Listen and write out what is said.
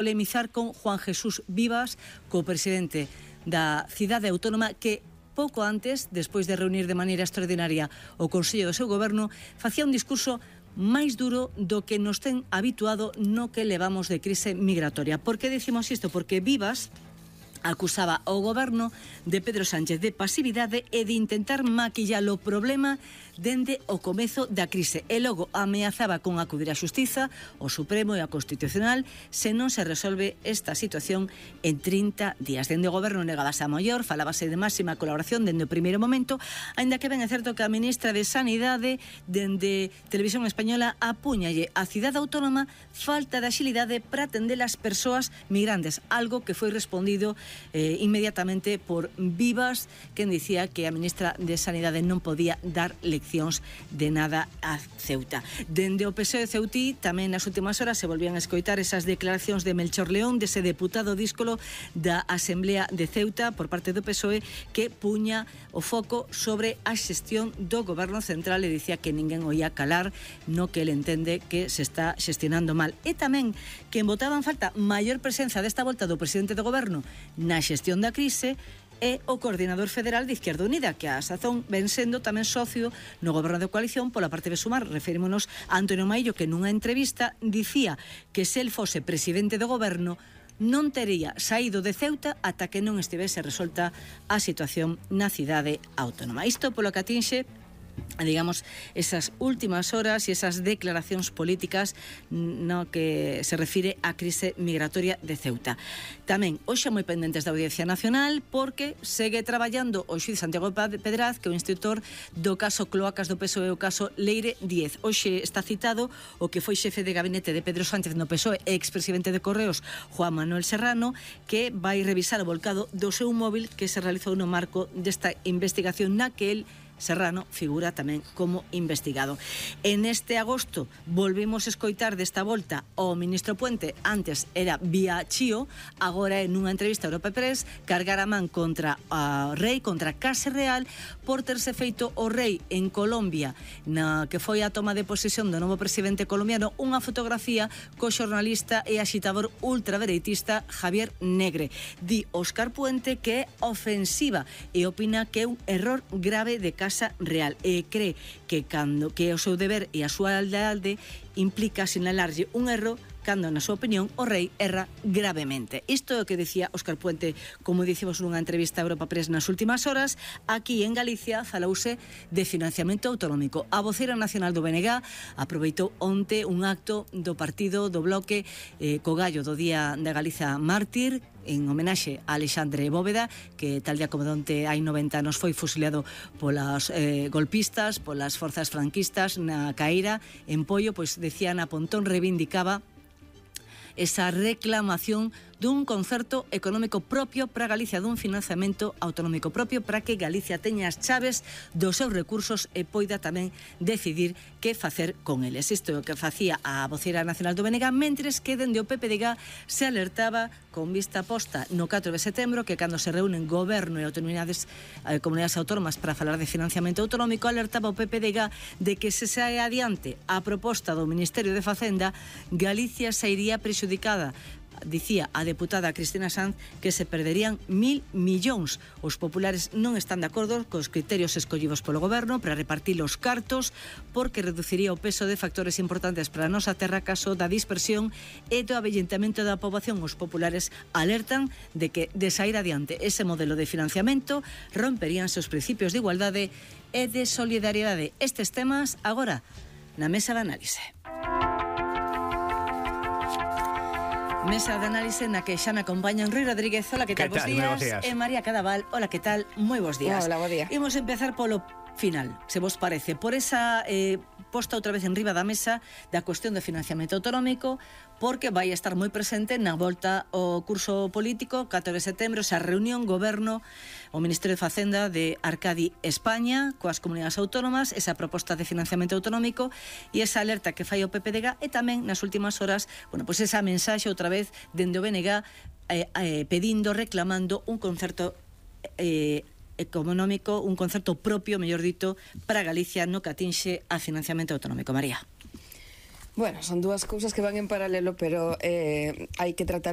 polemizar con Juan Jesús Vivas, co-presidente da cidade autónoma, que pouco antes, despois de reunir de maneira extraordinaria o Consello do seu goberno, facía un discurso máis duro do que nos ten habituado no que levamos de crise migratoria. Por que decimos isto? Porque Vivas acusaba ao goberno de Pedro Sánchez de pasividade e de intentar maquillar o problema dende o comezo da crise, e logo ameazaba con acudir á Xustiza, o Supremo e a Constitucional se non se resolve esta situación en 30 días. Dende o goberno negábase a maior, falábase de máxima colaboración dende o primeiro momento, aínda que ben é certo que a ministra de Sanidade dende Televisión Española apúñalle a cidade autónoma falta de axilidade para atender as persoas migrantes, algo que foi respondido inmediatamente por Vivas, quen dicía que a ministra de Sanidade non podía dar leccións de nada a Ceuta. Dende o PSOE ceutí tamén nas últimas horas se volvían a escoitar esas declaracións de Melchor León, dese deputado díscolo da Asamblea de Ceuta por parte do PSOE, que puña o foco sobre a xestión do goberno central e dicía que ninguén o ia calar no que ele entende que se está xestionando mal. E tamén que botaba en falta maior presenza desta volta do presidente do goberno na xestión da crise é o coordinador federal de Izquierda Unida, que a sazón ven sendo tamén socio no goberno de coalición pola parte de Sumar. Referímonos a Antonio Maillo, que nunha entrevista dicía que se el fose presidente do goberno non tería saído de Ceuta ata que non estivese resolta a situación na cidade autónoma. Isto polo que atinxe, digamos, esas últimas horas e esas declaracións políticas no que se refire á crise migratoria de Ceuta. Tamén, hoxe moi pendentes da Audiencia Nacional, porque segue traballando o xuíz Santiago Pedraz, que é o instructor do caso Cloacas do PSOE, o caso Leire 10. Hoxe está citado o que foi xefe de gabinete de Pedro Sánchez no PSOE e expresidente de Correos, Juan Manuel Serrano, que vai revisar o volcado do seu móvil que se realizou no marco desta investigación na que el, Serrano, figura tamén como investigado. En este agosto volvimos a escoitar desta volta ao ministro Puente, antes era vía Chío, agora en unha entrevista a Europa Press, cargar a man contra o rei, contra Case Real, por terse feito o rei en Colombia, na que foi a toma de posesión do novo presidente colombiano, unha fotografía co xornalista e axitador ultradereitista Javier Negre. Di Óscar Puente que é ofensiva e opina que é un error grave de Case Real e cree que cando que o seu deber e a súa lealdade implica sinalarlle un erro cando, na súa opinión, o rei erra gravemente. Isto é o que decía Óscar Puente, como dicimos nunha entrevista a Europa Press nas últimas horas. Aquí en Galicia falouse de financiamento autonómico. A voceira nacional do BNG aproveitou onte un acto do partido do Bloque co gallo do Día da Galiza Mártir, en homenaxe a Alexandre Bóveda, que tal día como onte hai 90 anos foi fusilado polas golpistas, polas forzas franquistas na Caíra, en Poio. Pois decía Ana Pontón, reivindicaba esa reclamación dun concerto económico propio para Galicia, dun financiamento autonómico propio para que Galicia teña as chaves dos seus recursos e poida tamén decidir que facer con eles. Isto é o que facía a voceira nacional do BNG, mentres que dende o PPDG se alertaba con vista posta no 4 de setembro que cando se reúnen goberno e comunidades autónomas para falar de financiamento autonómico, alertaba o PPDG de que se sae adiante a proposta do Ministerio de Facenda, Galicia sairía prexudicada. Dicía a deputada Cristina Sanz que se perderían 1.000 millóns. Os populares non están de acordo cos criterios escollidos polo goberno para repartir os cartos, porque reduciría o peso de factores importantes para a nosa terra, caso da dispersión e do avellentamento da poboación. Os populares alertan de que, de sair adiante ese modelo de financiamento, romperíanse os principios de igualdade e de solidariedade. Estes temas agora na mesa de análise. Mesa de análise na que xa me acompañan Rui Rodríguez, hola, que tal, bos días, e María Cadaval, hola, que tal, moi bos días. Hola, bo día. Imos empezar polo final, se vos parece, por esa posta outra vez en riba da mesa da cuestión do financiamento autonómico, porque vai estar moi presente na volta ao curso político, 4 de setembro, esa reunión goberno, o Ministerio de Facenda de Arcadi España, coas comunidades autónomas, esa proposta de financiamento autonómico e esa alerta que fai o PPDG, e tamén nas últimas horas, bueno, pues esa mensaxe outra vez dende o BNG pedindo, reclamando un concerto económico, un concerto propio, mellor dito, para Galicia no que atinxe a financiamento autonómico. María. Bueno, son dúas cousas que van en paralelo, pero hai que tratar